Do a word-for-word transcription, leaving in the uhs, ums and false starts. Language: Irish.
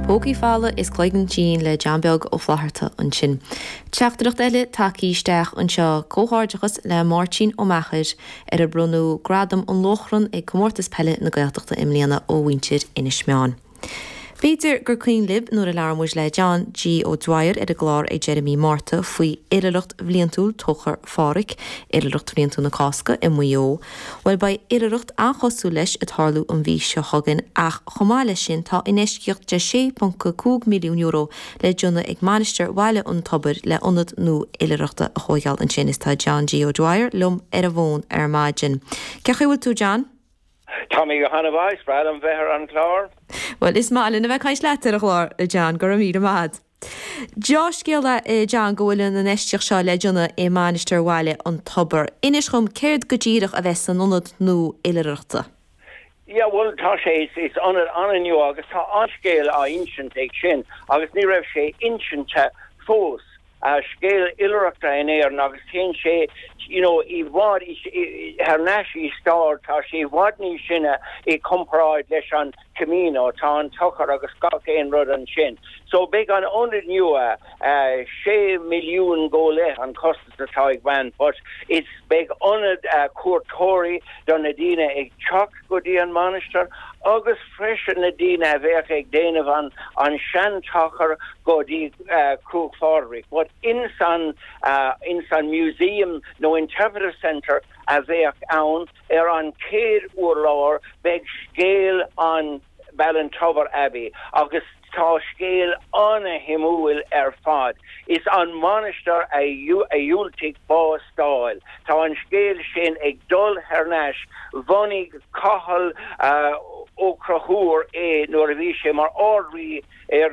Pócaí Folamha is Cloigeann Tinn le John Beag Ó Flatharta ansin. Teachtaireacht eile tagtha isteach anseo comhghairdeachas le Máirtín Ó Meachair ar a bronnadh gradam an Lóchrann ag Comórtas Peile na Gaeltachta i mbliana ó mhuintir Inis Meáin. B'fhéidir gur cuimhin libh nuair a labhair muid le John G. O'Dwyer ar an gclár ag deireadh mí Márta faoi oilithreacht bhliantúil Tóchar Phádraig, oilithreacht bhliantúil na Cásca i Maigh Eo. Well beidh oilithreacht an-chosúil leis ag tarlú an mhí seo chugainn ach chomh maith leis sin tá infheistíocht de sé ponc cúig milliún euro le déanamh ag Mainistir Bhaile an Tobair le ionad nua oilithreachta a thógáil ansin is tá John G. O'Dwyer liom ar an bhfón ar maidin. Cén chaoi a bhfuil tú John? Tá mé go han-mhaith breá liom bheith ar an chlár? Well is maith linn a bheith ag caint leat ar an chlár John go raibh míle maith. Dea-scéala John go bhfuil an infheistíocht seo le déanamh i Mainistir Bhaile an Tobair. Inis dom céard go díreach a bheas san ionad nua oilithreachta. Ja well tá sé is ionad an-nua agus tá an-scéal á insint ag sin agus ní raibh sé insinte fós. a scéal oilithreachta in Éirinn agus téann sé you know, i bhfad thar n-ais i stair tá sé i bhfad níos sine i comparáid leis an Camino tá an tochar agus gach aon rud ansin. So beidh an ionad nua uh, sé milliún go leith an costas atá ag baint, but it's beidh ionad uh, cuairteoirí do na daoine ag teacht go dtí an mainistir agus freisin na daoine a bheadh ag déanamh an an seantochar go dtí uh, Cruach Phádraig. But in san uh, in san museum nó interpretive center a bheadh ann ar an céad urlár beidh scéal an Ballintubber Abbey agus tá scéal an-shuimiúil ar fad. Is an mainistir a a dhiúltaigh bás d'fháil. Tá an scéal sin ag dul thar n-ais bhunaigh Cathal uh, Ó Conchúir é nuair a bhí sé mar Ard-Rí ar